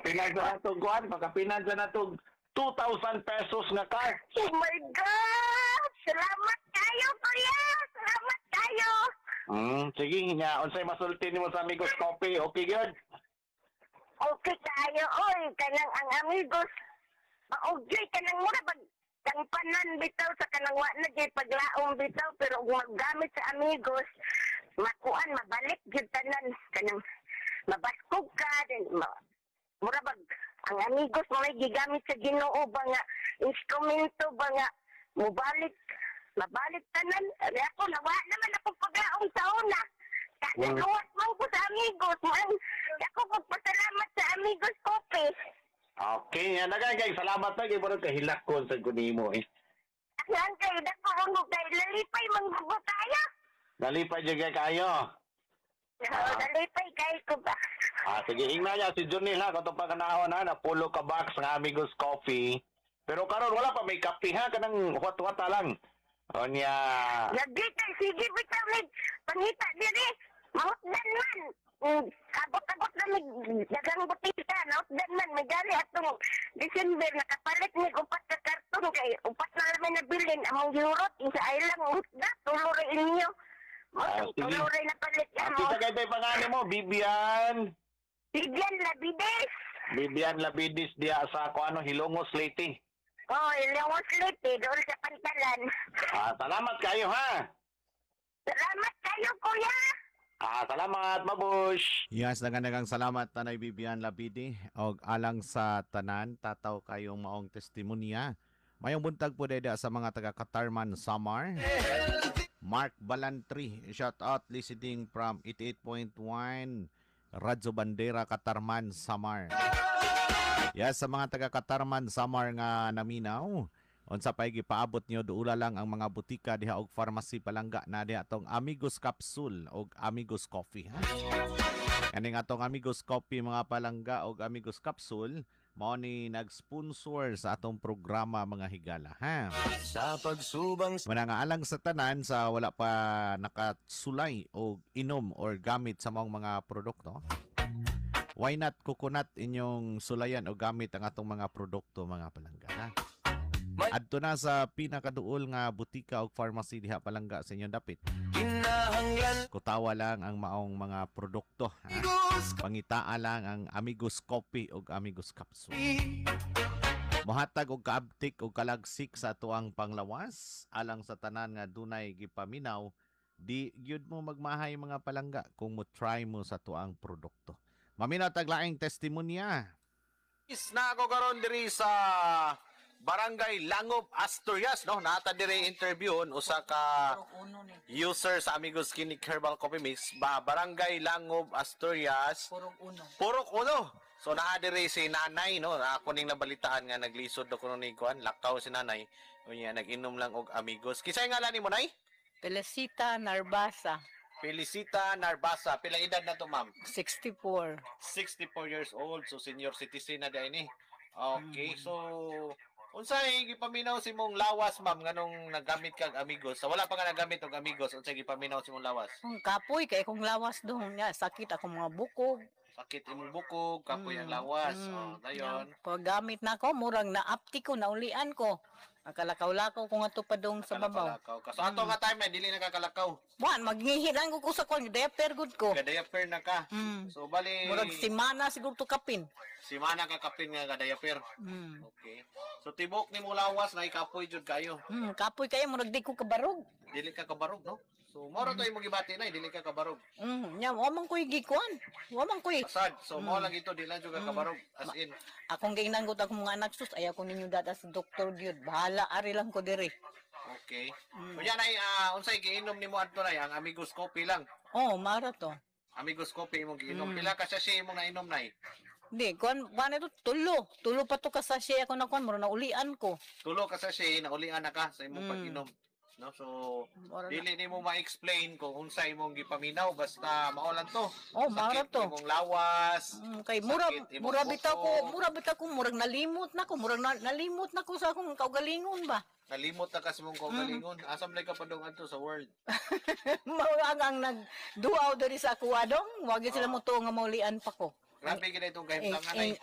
Pakapinan sa natong kuan, pakapinan sa natong 2,000 pesos nga cash. Oh my God! Salamat kayo, kuya! Salamat kayo! Sige nya, unsay masulti nimo sa Amigos Coffee? Okay gyud. Okay kayo, oy! Kanang ang Amigos, maugyoy kanang mura pag kang panan bitaw sa kanang wa na gyud paglaom bitaw, pero kung maggamit sa Amigos, makuan, mabalik gyud tanan, kanang mabaskog ka then mura bag ang Amigos mo may gigamit sa Ginoo ba nga instrumento ba nga mubalik, mabalik tanan. Ay, ako nawa naman ako paglaom sa una. Kagaluwas mo ko sa Amigos mo. Ako pagpasalamat sa Amigos Coffee. Okay, nya daghan kay salamat na kay murag kahilak ko sa kunimo eh. Ang kay dako ang kay lalipay manggugo tayo. Nalipay jud kay kayo. Ah. Nalipay kay ko ba. Ah, sige, ingna niya si Junil ha, katong pagkanahon ha, napulo ka box ng Amigos Coffee. Pero karon wala pa may kape ha, kanang huwat-huwata lang. O niya, Lagi kay sige bitaw mig pangita diri. Mahutdan man. Abot-abot na mig daghang butika, nahutdan man may gali atong December nakapalit mig upat ka karton kay upat na lang may nabilin among gihurot isa ay lang hutda, tulo ra inyo. Mo Ah, sige. tulo ra napalit amo. Kita kay tay pangalan mo, Bibian. Bigyan Labides. Bibian Labidis diya sa kuano, Hilongos, Leyte. Oh, Ilongos Leyte, doon sa pantalan. Ah, salamat kayo ha. Salamat kayo, kuya. Ah, salamat, babush. Yes, daghang salamat, Tanay Bibian Labidi, og alang sa tanan tataw kayong maong testimonya. Mayong buntag po deda sa mga taga Katarman, Samar. Mark Balantri, shout out, listening from 88.1 Radyo Bandera, Katarman, Samar. Yes, sa mga taga Katarman, Samar nga naminaw, unsa pay gipaabot niyo, duula lang ang mga butika diha og pharmacy, palangga, na diha atong Amigos Capsule og Amigos Coffee ha. Kaning atong Amigos Coffee, mga palangga, og Amigos Capsule mao ni nag-sponsor sa atong programa, mga higala ha. Sa pagsubang Muna nga alang sa tanan sa wala pa nakasulay o inom or gamit sa maong mga produkto. Why not coconut inyong sulayan o gamit ang atong mga produkto, mga palangga ha? Adto na sa pinakaduol nga butika o pharmacy diha, palangga, sa inyong dapit. Kinahanglan Kutawa lang ang maong mga produkto. Ha? Amigos Pangitaa lang ang Amigos Coffee o Amigos Capsule. Mohatag og kaabtik og kalagsik sa atuang panglawas alang sa tanan nga dunay gipaminaw, di gyud mo magmahay, mga palangga, kung mo try mo sa tuang produkto. Maminaw tag laing testimonya. Is na ako karon diri sa Barangay Langob, Asturias, no? Nata diri interview usa ka user sa Amigos Clinic Herbal Coffee Mix ba, Barangay Langob, Asturias. Purok Uno. Purok Uno. So naa diri si nanay, no? Ako ning nabalitaan nga naglisod do kuno ni kuan, lakaw si nanay. Unya nag-inom lang og Amigos. Kinsay ngalan nimo, nay? Felicita Narbasa. Felicita Narbasa. Pila edad na to, ma'am? 64. 64 years old, so senior citizen na diay ni. Okay, so unsay gipaminaw sa imong lawas, ma'am, nganong nagamit kag Amigos? Sa wala pa ka nagamit og Amigos, unsay gipaminaw sa imong lawas? Kung kapoy kay kong lawas doon nga, sakit akong mga bukog. Sakit imong bukog, kapoy ang lawas. Oh, dayon. Paggamit na ako, murag naapti ko, naulian ko. Nakalakaw-lakaw ko nga to pa dong sa babaw. Kalakaw ka. So ato nga time na dili nakakalakaw. Buwan, magngihi lang ko sa kwan, diaper good ko. Gadiaper na ka. So bali Murag simana siguro to kapin. Simana ka kapin nga gadiaper. Okay. So tibok nimo lawas na ikapoy jud kayo. Kapoy kayo, murag di ko kabarog. Dili ka kabarog, no? So mao ra to imong gibati na, dili ka kabarog. Nya, wa man ko'y gikuan. Wa man ko'y. Sad. So mao lang ito, di lang jud ka kabarog. As in. Akong giinanggot akong mga anak, sus, ayaw ko ninyo dada sa doktor gyud. Bahala, ari lang ko diri. Okay. Kunya nay, unsay giinom nimo adto, nay? Ang Amigos Coffee lang? Oh, mara to. Amigos Coffee imong giinom. Pila ka sachet imong nainom, nay? Di, kuan, kuan ito, tulo. Tulo pa to ka sachet ako na kuan, mura na ulian ko. Tulo ka sachet, naulian na ka sa imong pag-inom. No, so Mura na. dili nimo ma-explain kung unsa imong gipaminaw, basta mao lang to. Oh, mao ra Sakit to. imong lawas. Kay mura Sakit imong mura bitaw ko, bukog. mura bitaw ko, murag nalimot na ko, murag nalimot na ko sa akong kaugalingon ba. Nalimot na ka sa imong kaugalingon. Asa man ka padung adto sa world? Mao ang nagduaw diri sa ako adong, wag sila mo tuo nga maulian pa ko. Grabe gid itong kahimtangan ay.